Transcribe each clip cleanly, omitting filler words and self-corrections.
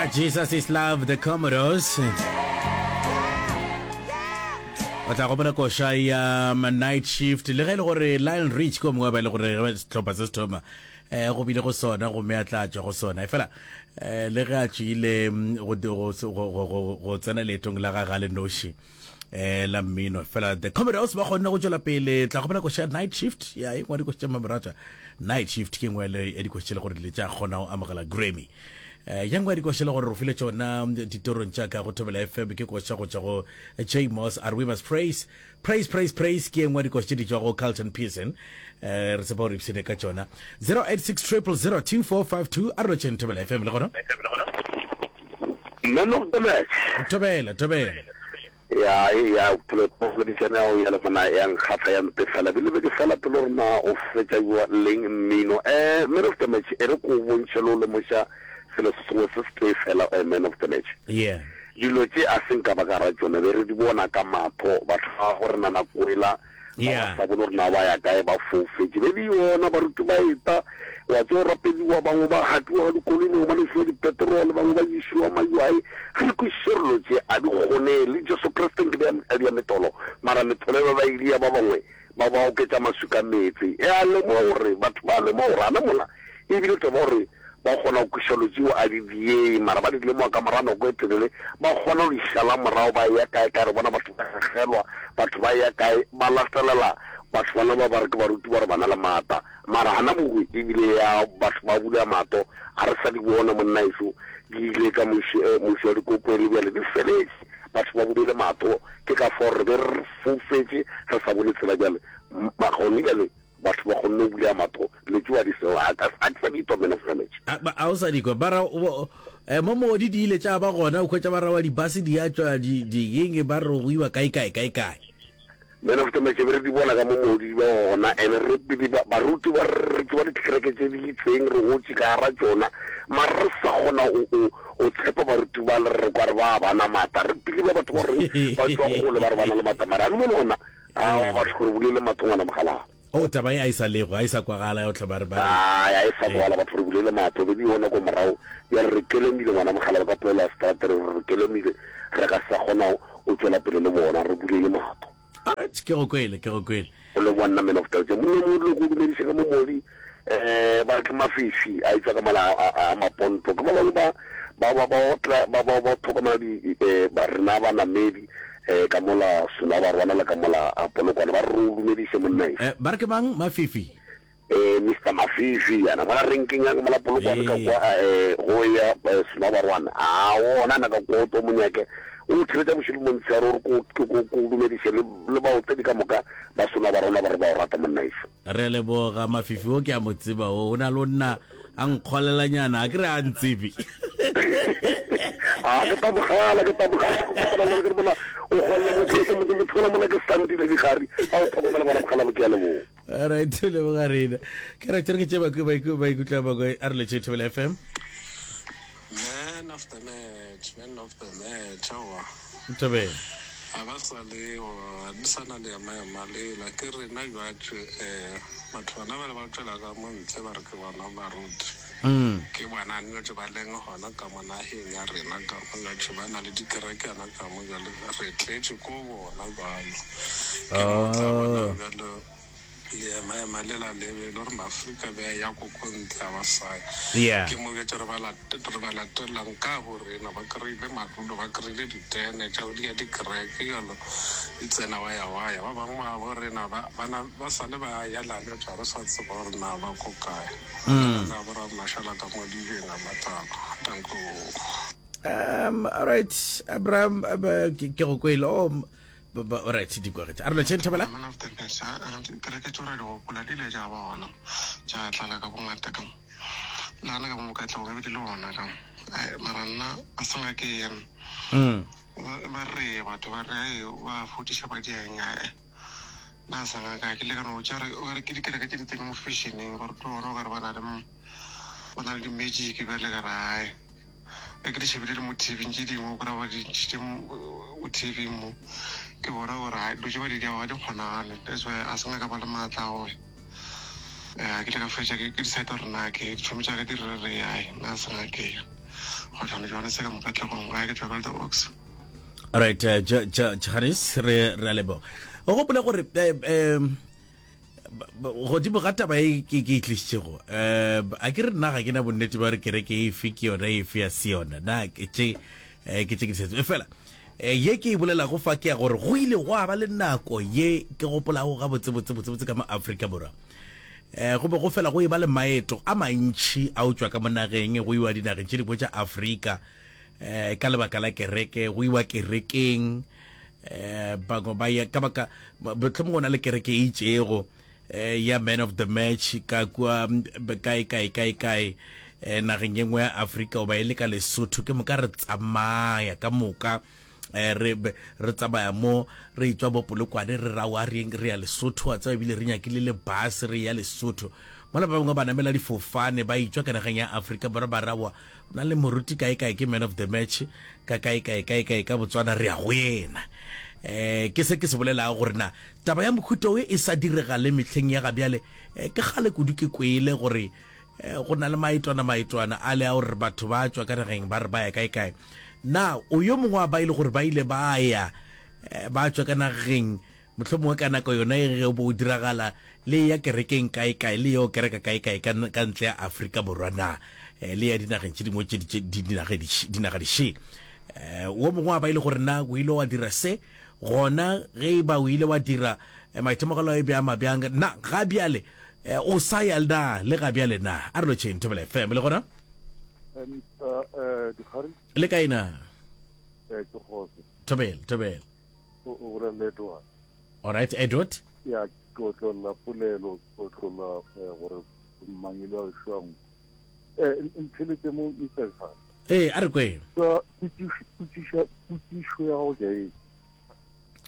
Jesus is Love, The Commodores. O tla gopola koša ya um, Night Shift le ge e le gore Lionel Rich ke o mongwe wa ba e le gore ge sehlopha se se thoma eh, go bile go sona gomme a tla tšwa go sona efela eh, le ge a tšwile mm, go, go, go, go, go, go tsena leetong la gage a le noši eh la mmino fela the Commodores ba kgonne go tšwela pele tla gopela koša ya night shift ya e nngwe ya dikoša tša mamoratwa night shift ke nngwe ya dikoša tše le gore le tša kgona go amogela Grammy eh ya nngwe ya dikoša le gore re file tšona ditorong tša ka go Thobela FM ke koša go tšwa go J Moss a re we must praise praise praise praise ke nngwe ya dikoša tše di tšwa go Carlton Pearson eh re tshepa gore ipshine ka tšona 086 000 2452 a re lotšheng Thobela FM le gona Man of the match. Thobela, thobela. Ya, ya, poledišano ya go ya le mona ya nkgahla ya mpefela bile be ke fela pelo gore na o fetša jwa leng mmino. Eh, man of the match, e re ko bontšhe le o lemoša selo se sengwe se setee fela, eh, man of the match. Yeah. Dilo tše a se nka ba ka ra tšona, be re di bona ka matho, batho ba go rena nako ela Ba ba sa bone gore na ba ya kae, ba foufetše. Be le yona, baruti ba eta, wa tseba, go rapediwa, bangwe ba gatiwa ka dikoloi, bangwe ba nwešiwa dipeterole, bangwe ba išiwa maywae. Ga re kwešiše gore dilo tše a di kgonege. Le Jesu Kriste nke be a dia metholo, mara metholo e ba ba e dia ba bangwe ba ba oketša maswi ka meetse. E a lemoga gore batho ba lemoga gore gana mola e bile taba gore Ba kgona go kweša dilo tšeo a di diei, mara ba di lemoga ka morago nako e telele. Ba kgona go di šala morago ba eya kae kae. Re bona batho ba gegelwa, batho ba eya kae, ba latelela batho bana ba ba re ke baruti ba gore ba na le maata. Mara gana mowe e bile ya batho ba bula mahlo, ga re sa di bona monna ešo, di ile ka muši, muši wa dikokwe le bjale di feletše. Batho ba bulile mahlo, ke ka fao re be re foufetše re sa bone tsela bjale. Gone bjale Batho ba kgonne go bulega matho, dilo tšeo a di sego, a ka, a ke sa di twa man of knowledge. A, ba, a o sa di kwa? Ba ra, o, eh, mo moodi di ile tša ba gona, o hwetša ba ra wa dibase di a tšwa, di, di eng, ba re go iwa kae, kae, kae, kae. Man of knowledge, be re di bona ka mo moodi di ba gona, and re pele ba, baruti ba re tseba dikereke tše di itseng, re gotše ka gara tšona, mara re sa kgona go, go, go tshepa baruti ba le re kwa re ba ba na maatla, re pele ba batho ba reng ba tšwa kgole ba re ba na le maatla, mara a le bone gona Aowa batho gore bulele matho ngwana mogalaa. Oh taba ye a e sa lego, a e sa kwagala ya go tlhoba re ba re. Ai a e sa kwagala batho re bulele matho be di gona ko morago bjale re kelemile ngwana mogalaba ka polelo ya seterata re re kelemile re ka sa kgona go tšwela pele le bona re bulele matho. Alright ke go kwele ke go kwele. O leboga nna man of culture monna mo le go dumediša ka mo modi eh ba ke mafifi a etšwa ka mala a maponto ke ba bangwe ba ba ba ba otla ba ba ba tlhokomela di eh ba rena ba namedi eh ka mola sona ba rwala le ka mola a polokwane ba re o dumediše monna e Eh, ba re ke mang mafifi eh Mr Mafifi yana mola renkeng ya mola polokwane ka kwa eh go ya eh, sona ba rwana a ona na ka kwa o to monyake o theletša bošego montshehare o re ko ko ko dumediše le le baotledi ka moka ba sona ba rona ba re ba o rata monna eso Re a leboga Mafifi o ke a mo tseba o, o na le o nna a nkgolelanyana a ke re a ntsebe. A ke tabogala ke tabogala ke kopana le ke bona o golla motho ke motho motho mola ke santile digari a o tlhokomela bona mogala bo ke a leboga. Alright, leboga rena. Ke re ke tše ba ba ikutlwa ba a re le tše Thobela FM. Man of the match, man of the match, aowa. Thobela. Ga ba sa leo, ga di sa na leema-ema lela. Ke rena bjatše, eh, batho bana bale ba tšwela ka mo ntle ba re ke bona baruti. Ke bona notše ba leng gona ka mo nageng ya rena ka mo notše ba na le dikerekana ka mo bjale re tletše ko bona bjalo. Ke mo tla bonang bjalo. Leema-ema lela le be e le gore Maafrika be a eya ko ko ntle a ba sa ya. Yeah. Ke mo bjatše re ba re ba latelang ka bo rena, ba kry-ile madulo, ba kry-ile ditene tša go dia dikereke bjalo, di tsena wa ya wa ya. Ba bangwe ba bo rena ba, ba na, ba sa le ba ya lale tša re sa tseba gore na ba ko kae. Mm. Ba bo ra mašala ka mo dibeng a matlalo. Danko. Um, all right, Abraham, uh, ke ke go kwele. Oh, Alright, di kwagetše. A re lotšheng Thobela. Man of the match, a a kereke tšeo ra di gopola di ile tša ba gona tša tlala ka bongata ka mo le gana ka mo Katlehong e be di le gona ka mo Ai, mara nna a se nga ke ya ba re batho ba re ai ba fodiša ba diang ae nna a sa nga ka ke ile ka no tša re o ka re ke dikereke tše di tsene mo fashioneng gore ke bona o ka re ba na le ba na le di-magic bjale ka re ae Ge ke di shebile le mo TV-ing tše dingwe o kry-a ba di ntšhitše mo TV-ing mo ke bona gore hai dilo tše ba di dirago ga di kgonagale that's why a se nka ka ba le maatla a gore um ke ile ka fetša ke decide gore na ke ditšhomi tša ka di re re ai nna a se nka ke ya. Kgohlano Johannes ka mo Katlehong, gae ke tšwa ka The Oaks. Alright, uh, Johannes, re re a leboga. O gopole gore eh, eh, godimo ga taba e ke ke e tlišitšego um a ke re nna ga ke na bonnete ba gore kereke efe ke yona efe ya se yona na ke tše eh, ke tše ke di fela eh, ye ke e bolelago fa ke ya gore go ile gwa ba le nako ye ke gopolago ga botsebotsebotsebotse ka mo Afrika Borwa um go be go fela go e ba le maeto a mantšhi a o tšwa ka mo nageng go iwa dinageng tše dingwe tša Afrika um ka lebaka la kereke go iwa kerekeng eh bangwe ba ya ka baka mohlomongwe go na le kereke e itšego eh ya man of the match ka kua kae kae kae kae eh nageng ye nngwe ya Afrika goba e le ka Lesotho ke moka re tsamaya ka moka eh re re tsamaya mo re etšwa bo Polokwane re ra wa re re ya Lesotho wa tseba ebile re nyakile le bus re ya Lesotho mola ba bangwe ba namela difofane ba etšwa ka nageng ya Afrika Borwa ba ra wa na le moruti kae kae ke man of the match ka kae kae kae kae ka Botswana re ya go yena. Eh ke se ke se bolelago gore na taba ya mohuta o e sa direga le mehleng ya ga bjale eh, ke kgale kudu ke kwele gore eh, go na le maetwana maetwana a le a gore batho ba tšwa ka nageng ba re ba ya kae kae. Na o yo mongwe wa ba ile gore ba ile ba ya eh, ba tšwa ka nageng Mohlomongwe ka nako yona ye ge o be o diragala, le eya kerekeng kae-kae, le yo kereka kae-kae ka, ka ntle ya Afrika Borwa na, eh, le ya dinageng tše dingwe tše, tše, dinaga, dinaga dišele. Eh, wo mongwe wa ba ile gore na o ile wa dira se, gona ge e ba o ile wa dira, eh, maitemogelo a e be a mabjang, na ga bjale, eh, o sa ya na le ga bjale na? A re lotšheng Thobela FM, le gona? Eh, Mr. Eh, Dikgari? Le kae na? Eh, ke kgotso. Thobela, thobela. O o bolela le Edward. All right, Edward. Ya ke otlolla polelo, ke otlolla eh, gore mangelo a šwang. Eh, ntheletše mo Mr. Dikgari. Ee, a re kwe. Sa potšišo potšišo potšišo ya gago ke e.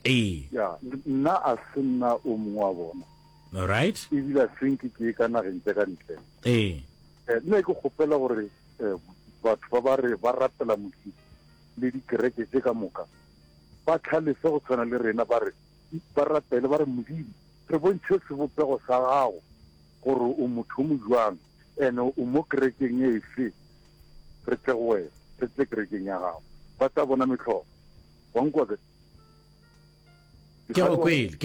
Ee. Ya, nna a se nna o mongwe wa bona. All right. Ebile a se nke ke ye ka nageng tša ka ntle. Ee. Eh, nna ke kgopela gore eh, batho ba ba re ba rapela Modimo le dikereke tše ka moka ba hlalefe go tshwana le rena, ba re, ba rapele, ba re, Modimo, re bontšhe sebopego sa gago, gore o motho o mojwang, ene o mo kerekeng efe, re tle go wena, re tle kerekeng ya gago. Ba tla bona mehlolo. Wa nkwa ke? Ke go kwele.